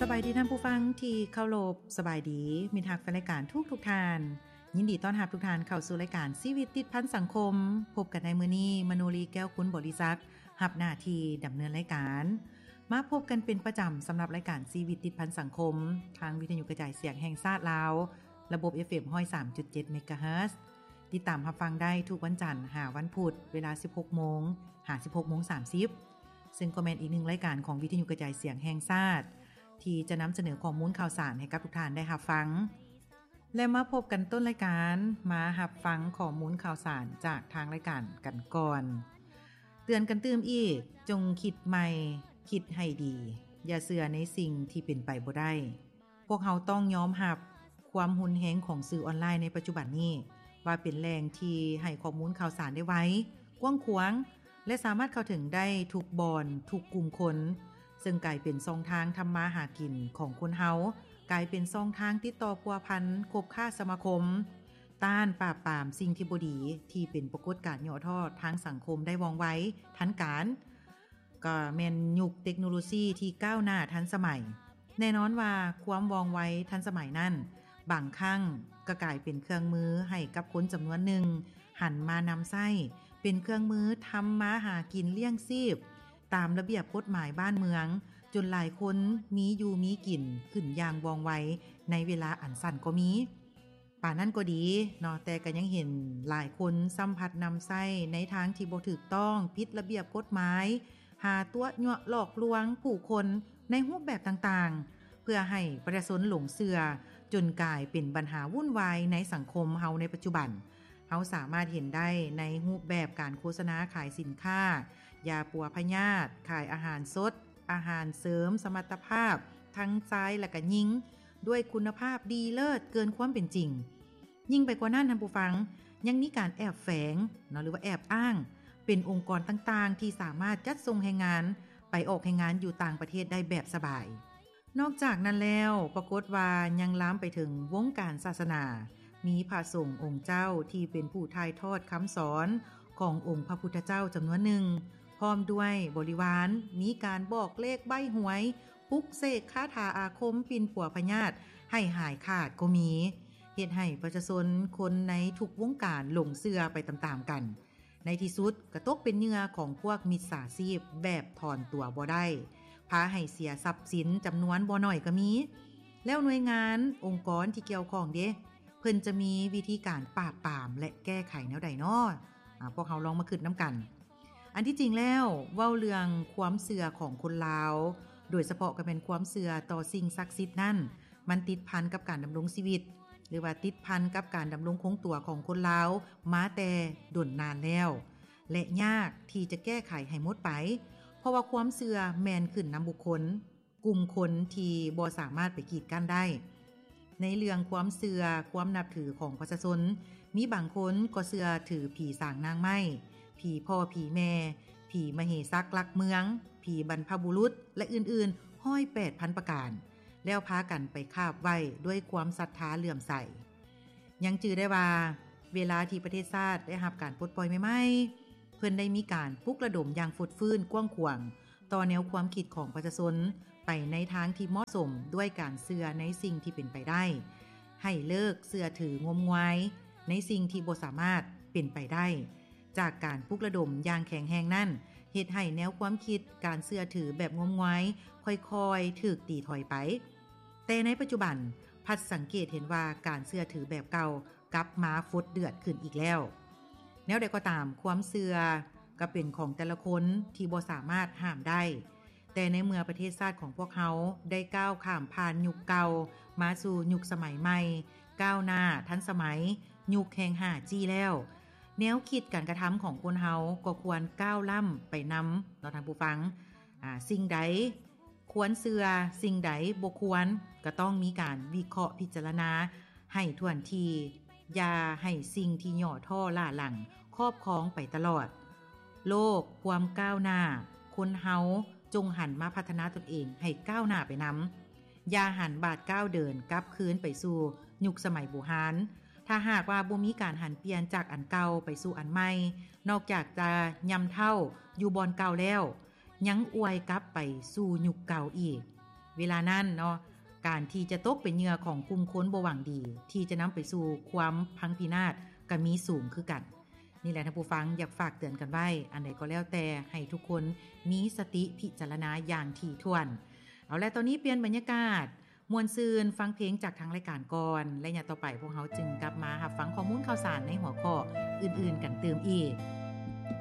ສະບາຍດີທ່ານຜູ້ຟັງທີ່ເຄົາລົບ, ສະບາຍດີມິດຮັກແຟນລາຍການທຸກໆທ່ານ. ຍິນດີຕ້ອນຮັບທຸກທ່ານເຂົ້າສູ່ລາຍການຊີວິດຕິດພັນສັງຄົມ. ພົບກັນໃນມື້ນີ້, ມະໂນລີ ແກ້ວຄຸນບໍລິສັກ ຮັບໜ້າທີ່ດຳເນີນລາຍການ. ມາພົບກັນເປັນປະຈຳສຳລັບລາຍການຊີວິດຕິດພັນສັງຄົມ ທາງວິທະຍຸກະຈາຍສຽງແຫ່ງຊາດລາວ, ລະບົບ ເອຟເອັມ ຮ້ອຍສາມຈຸດເຈັດ ເມກາເຮີດ. ຕິດຕາມຮັບຟັງໄດ້ທຸກວັນຈັນຫາວັນພຸດ ເວລາ ສິບຫົກໂມງ ຫາ ສິບຫົກໂມງສາມສິບ ເຊິ່ງກໍແມ່ນອີກໜຶ່ງລາຍການຂອງວິທະຍຸກະຈາຍສຽງແຫ່ງຊາດ ທີ່ຈະນຳສະເໜີຂໍ້ມູນຂ່າວສານໃຫ້ກັບທຸກທ່ານໄດ້ຮັບຟັງ. ແລະ ມາພົບກັນຕົ້ນລາຍການ, ມາຮັບຟັງຂໍ້ມູນຂ່າວສານຈາກທາງລາຍການກັນກ່ອນ. ເຕືອນກັນຕື່ມອີກ, ຈົ່ງຄິດໃໝ່, ຄິດໃຫ້ດີ, ຢ່າເຊື່ອໃນສິ່ງທີ່ເປັນໄປບໍ່ໄດ້. ພວກເຮົາຕ້ອງຍອມຮັບຄວາມຮຸນແຮງຂອງສື່ອອນລາຍໃນປັດຈຸບັນນີ້ ວ່າເປັນແຫຼ່ງທີ່ໃຫ້ຂໍ້ມູນຂ່າວສານໄດ້ໄວ, ກວ້າງຂວາງ ແລະ ສາມາດເຂົ້າເຖິງໄດ້ທຸກບ່ອນ, ທຸກກຸ່ມຄົນ, ເຊິ່ງກາຍເປັນຊ່ອງທາງທຳມາຫາກິນຂອງຄົນເຮົາ, ກາຍເປັນຊ່ອງທາງຕິດຕໍ່ພົວພັນ, ຄົບຄ້າສະມາຄົມ, ຕ້ານປາບປາມສິ່ງທີ່ບໍ່ດີ ທີ່ເປັນປາກົດການຫຍໍ້ທໍ້ທາງສັງຄົມໄດ້ວ່ອງໄວ, ທັນການ. ກໍແມ່ນຍຸກເຕັກໂນໂລຊີທີ່ກ້າວໜ້າທັນສະໄໝ. ແນ່ນອນວ່າຄວາມວ່ອງໄວທັນສະໄໝນັ້ນ ບາງຄັ້ງກໍກາຍເປັນເຄື່ອງມືໃຫ້ກັບຄົນຈຳນວນໜຶ່ງຫັນມານຳໃຊ້ ເປັນເຄື່ອງມືທຳມາຫາກິນລ້ຽງຊີບຕາມລະບຽບກົດໝາຍບ້ານເມືອງ, ຈົນຫຼາຍຄົນມີຢູ່ມີກິນຂຶ້ນຢ່າງວ່ອງໄວໃນເວລາອັນສັ້ນກໍມີ. ປານນັ້ນກໍດີເນາະ, ແຕ່ກໍຍັງເຫັນຫຼາຍຄົນຊ້ຳພັດນຳໃຊ້ໃນທາງທີ່ບໍ່ຖືກຕ້ອງ, ຜິດລະບຽບກົດໝາຍ, ຫາຕົວະຍົວະຫຼອກລວງຜູ້ຄົນໃນຮູບແບບຕ່າງໆ ເພື່ອໃຫ້ປະຊາຊົນຫຼົງເຊື່ອ, ຈົນກາຍເປັນບັນຫາວຸ້ນວາຍໃນສັງຄົມເຮົາໃນປັດຈຸບັນ. ເຮົາສາມາດເຫັນໄດ້ໃນຮູບແບບການໂຄສະນາຂາຍສິນຄ້າ, ຢາປົວພະຍາດ, ຂາຍອາຫານສົດ, ອາຫານເສີມສະມັດຕະພາບ ທັງຊາຍ ແລະ ກະຍິງ ດ້ວຍຄຸນນະພາບດີເລີດເກີນຄວາມເປັນຈິງ. ຍິ່ງໄປກວ່ານັ້ນ, ທ່ານຜູ້ຟັງ, ຍັງມີການແອບແຝງເນາະ ຫຼືວ່າແອບອ້າງ ເປັນອົງກອນຕ່າງໆ ທີ່ສາມາດຈັດສົ່ງແຮງງານໄປອອກແຮງງານຢູ່ຕ່າງປະເທດໄດ້ແບບສະບາຍ. ນອກຈາກນັ້ນແລ້ວ, ປາກົດວ່າຍັງລາມໄປເຖິງວົງການສາສະໜາ, ມີພະສົງອົງເຈົ້າທີ່ເປັນຜູ້ຖ່າຍທອດຄຳສອນຂອງອົງພະພຸດທະເຈົ້າຈຳນວນໜຶ່ງ, ພ້ອມດ້ວຍບໍລິວານ, ມີການບອກເລກໃບ້ຫວຍ, ປຸກເສກຄາຖາອາຄົມປິ່ນປົວພະຍາດໃຫ້ຫາຍຂາດກໍມີ, ເຮັດໃຫ້ປະຊາຊົນຄົນໃນທຸກວົງການຫຼົງເຊື່ອໄປຕາມໆກັນ. ໃນທີ່ສຸດກໍຕົກເປັນເຫຍື່ອຂອງພວກມິດສາຊີບແບບຖອນຕົວບໍ່ໄດ້, ພາໃຫ້ເສຍຊັບສິນຈຳນວນບໍ່ໜ້ອຍກໍມີ. ແລ້ວໜ່ວຍງານ, ອົງກອນທີ່ກ່ຽວຂ້ອງເດ? ເພິ່ນຈະມີວິທີການປາບປາມ ແລະ ແກ້ໄຂແນວໃດນໍ? ອາ, ພວກເຮົາລອງມາຄິດນຳກັນ. ອັນທີ່ຈິງແລ້ວ, ເວົ້າເລື່ອງຄວາມເຊື່ອຂອງຄົນລາວ, ໂດຍສະເພາະກໍແມ່ນຄວາມເຊື່ອຕໍ່ສິ່ງສັກສິດນັ້ນ, ມັນຕິດພັນກັບການດຳລົງຊີວິດ ຫຼືວ່າຕິດພັນກັບການດຳລົງຄົງຕົວຂອງຄົນລາວມາແຕ່ດົນນານແລ້ວ ແລະ ຍາກທີ່ຈະແກ້ໄຂໃຫ້ໝົດໄປ, ເພາະວ່າຄວາມເຊື່ອແມ່ນຂຶ້ນນຳບຸກຄົນ, ກຸ່ມຄົນທີ່ບໍ່ສາມາດໄປກີດກັ້ນໄດ້. ໃນເລື່ອງຄວາມເຊື່ອ, ຄວາມນັບຖືຂອງປະຊາຊົນ, ມີບາງຄົນກໍເຊື່ອຖືຜີສາງນາງໄມ້, ຜີພໍ່ຜີແມ່, ຜີມະເຫສັກຫຼັກເມືອງ, ຜີບັນພະບຸລຸດ ແລະ ອື່ນໆ ຮ້ອຍແປດພັນປະການ. ແລ້ວພາກັນໄປຄາບໄຫວ້ດ້ວຍຄວາມສັດທາເຫຼື້ອມໃສ. ຍັງຈື່ໄດ້ວ່າ ເວລາທີ່ປະເທດຊາດໄດ້ຮັບການປົດປ່ອຍໃໝ່ໆ, ເພິ່ນໄດ້ມີການປຸກລະດົມຢ່າງຟົດຟື້ນກວ້າງຂວາງຕໍ່ແນວຄວາມຄິດຂອງປະຊາຊົນ ໄປໃນທາງທີ່ເໝາະສົມດ້ວຍການເຊື່ອໃນສິ່ງທີ່ເປັນໄປໄດ້, ໃຫ້ເລີກເຊື່ອຖືງົມງວາຍໃນສິ່ງທີ່ບໍ່ສາມາດເປັນໄປໄດ້. ຈາກການປຸກລະດົມຢ່າງແຂງແຮງນັ້ນ ເຮັດໃຫ້ແນວຄວາມຄິດການເຊື່ອຖືແບບງົມງວາຍຄ່ອຍໆຖືກຕີຖອຍໄປ. ແຕ່ໃນປັດຈຸບັນ ພັດສັງເກດເຫັນວ່າການເຊື່ອຖືແບບເກົ່າກັບມາຟົດເດືອດຂຶ້ນອີກແລ້ວ. ແນວໃດກໍຕາມ, ຄວາມເຊື່ອກໍເປັນຂອງແຕ່ລະຄົນທີ່ບໍ່ສາມາດຫ້າມໄດ້. ແຕ່ໃນເມື່ອປະເທດຊາດຂອງພວກເຮົາໄດ້ກ້າວຂ້າມຜ່ານຍຸກເກົ່າມາສູ່ຍຸກສະໄໝໃໝ່, ກ້າວໜ້າທັນສະໄໝ, ຍຸກແຫ່ງຫ້າຈີ ແລ້ວ, ແນວຄິດການກະທຳຂອງຄົນເຮົາກໍຄວນກ້າວລ້ຳໄປນຳເນາະທ່ານຜູ້ຟັງ. ອາ, ສິ່ງໃດຄວນເຊື່ອ, ສິ່ງໃດບໍ່ຄວນ, ກໍຕ້ອງມີການວິເຄາະພິຈາລະນາໃຫ້ຖ້ວນທີ່, ຢ່າໃຫ້ສິ່ງທີ່ຫຍໍ້ທໍ້ລ້າຫຼັງຄອບຄອງໄປຕະຫຼອດ. ໂລກຄວາມກ້າວໜ້າ, ຄົນເຮົາຈົ່ງຫັນມາພັດທະນາຕົນເອງໃຫ້ກ້າວໜ້າໄປນຳ. ຢ່າຫັນບາດກ້າວເດີນກັບຄືນໄປສູ່ຍຸກສະໄໝບູຮານ. ຖ້າຫາກວ່າບໍ່ມີການຫັນປ່ຽນຈາກອັນເກົ່າໄປສູ່ອັນໃໝ່, ນອກຈາກຈະຍ່ຳເຖົ້າຢູ່ບ່ອນເກົ່າແລ້ວ, ຍັງອວຍກັບໄປສູ່ຍຸກເກົ່າອີກ. ເວລານັ້ນເນາະ ການທີ່ຈະຕົກເປັນເຫຍື່ອຂອງກຸ່ມຄົນບໍ່ຫວັງດີ ທີ່ຈະນຳໄປສູ່ຄວາມພັງພິນາດ ກໍມີສູງຄືກັນ. ນີ້ແຫຼະທ່ານຜູ້ຟັງ ຢາກຝາກເຕືອນກັນໄວ້. ອັນໃດກໍແລ້ວແຕ່ ໃຫ້ທຸກຄົນມີສະຕິພິຈາລະນາຢ່າງຖີ່ຖ້ວນ. ເອົາລະ ຕອນນີ້ປ່ຽນບັນຍາກາດ ມ່ວນຊື່ນ ຟັງເພງຈາກທາງລາຍການກ່ອນ ໄລຍະຕໍ່ໄປພວກເຮົາຈຶ່ງກັບມາຮັບຟັງຂໍ້ມູນຂ່າວສານໃນຫົວຂໍ້ອື່ນໆກັນຕື່ມອີກ.